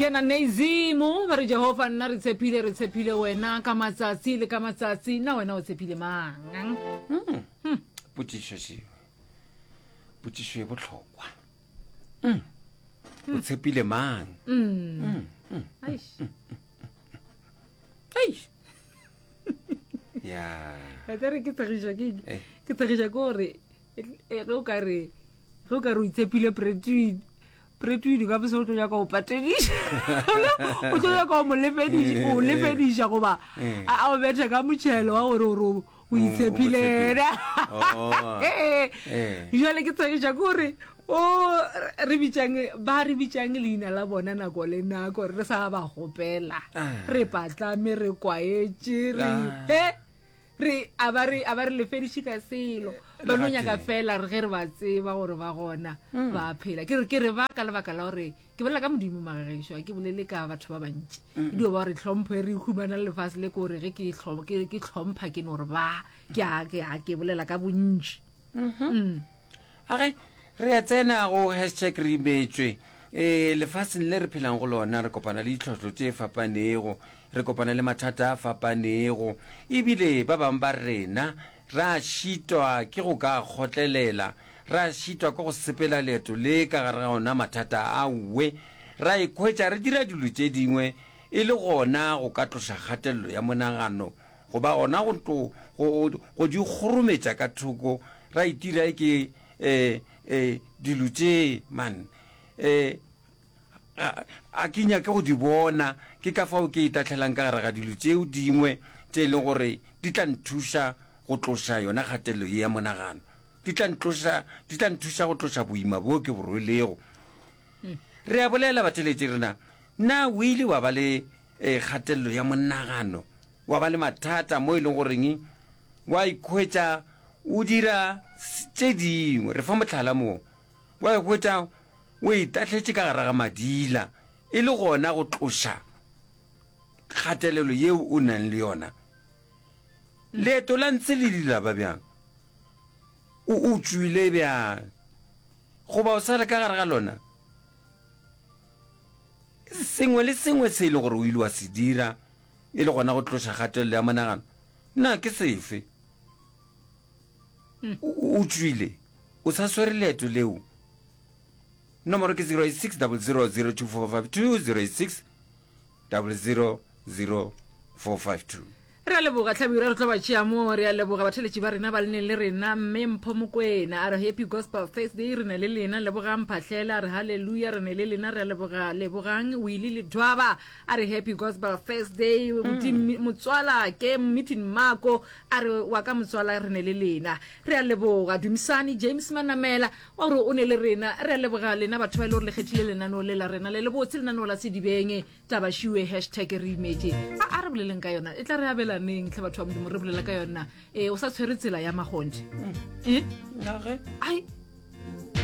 Ke na Nezimu ba re Jehofa nna re tshepile re tshepile wena ka matsatsi le ka matsatsi na wena o tshepile mang hmm. hmm. potšišo šeo potšišo e bohlokwa hmm. o tshepile mang ya re ke tshegiša ke eh. ke tshegiša ke gore eh, ge o ka re ge o ka re o itshepile pretwin pretwin ka bose o tlo nyaka go patediša o tlo nyaka go mo lefediša o lefediša goba eh. a o betha ka motšhelo wa gore gore o itshepile ena oh. jale ke tshegiša ke gore o re bitsang ba re bitsang leina la bona nako le nako re sa ba gopela ah. re patlame re kwaetše re ah. e re a ba re a ba re lefediše ka selo ba no nyaka fela re ge re ba tseba gore ba gona mm. ba phela ke re ke re ba ka lebaka la gore ke bolela ka modimo magagešo a ke bolele ka batho ba bantši e dio ba gore tlhompho e re humana lefase le ke gore ge ke tlhompha ke no gore ba ke a ke bolela ka bontši mm-hmm. mm. Age, re a tsena go hashtag re imetšwe. E, lefaseng le re phelang go lona re kopana le ditlhohlo tše fapanego, re kopana le mathata a fapanego, ebile ba bangwe ba rena ra šitwa ke go ka kgotlelela, ra šitwa ke go sepela leeto le ka gare ga ona mathata awe, ra ikhwetša re dira dilo tše dingwe e le gona go ka tloša kgatelelo ya monagano goba gona go tlo go, go di kgorometša ka thoko, ra itira e ke e, e, dilo tše, man, e, a, a ke nyake go di bona, ke ka fao ke itahlelang ka gare ga dilo tšeo dingwe tše e leng gore di tla nthuša go tloša yona kgatelelo ye ya monagano, di tla ntloša, di tla nthuša go tloša boima bjo ke bo rwelego. Re a bolela, batheeletši rena, na o ile wa ba le e, kgatelelo ya monagano? wa ba le mathata mo e leng goreng wa ikhwetša o dira tše dingwe. Re fa mohlala mo, wa ikhwetša o itahletše ka gare ga madila e le gona go tloša kgatelelo yeo o nang le yona. Leeto la ntshe le ile la ba bjang? O o tšwile bjang? Goba o sa le ka gare ga lona? Sengwe le sengwe se e le gore o ile wa se dira e le gona go tloša kgatelelo ya monagano, na ke sefe? O, o tšwile, o sa swere leeto leo. Nomoro ke 086 00 02452 086 00 0452. Re a leboga Hlabirwa, re tlo ba tšea mo. Re a leboga batheletši ba rena ba le neng le rena. Mme Mpho Mokwena a re Happy Gospel Thursday, re ne le lena. Lebogang Mphahlele a re Hallelujah, re ne le lena. Re a leboga Lebogang Willie Ledwaba a re Happy Gospel Thursday. Mm. Motswala ke Meeting Mako a re wa ka motswala re ne le lena. Re a leboga Dumisani James Manamela wa gore o ne le rena. Re a leboga lena batho ba e le gore le kgethile lenaneo le la rena le le botse lenaneo la Sedibeng. Taba šiwe hashtag re imetše. A a re boleleng ka yona. E tla re abelaneng tlhe batho ba Modimo re bolela ka yona. E o sa tshwere tsela ya magonthe. E? Nage. Ai.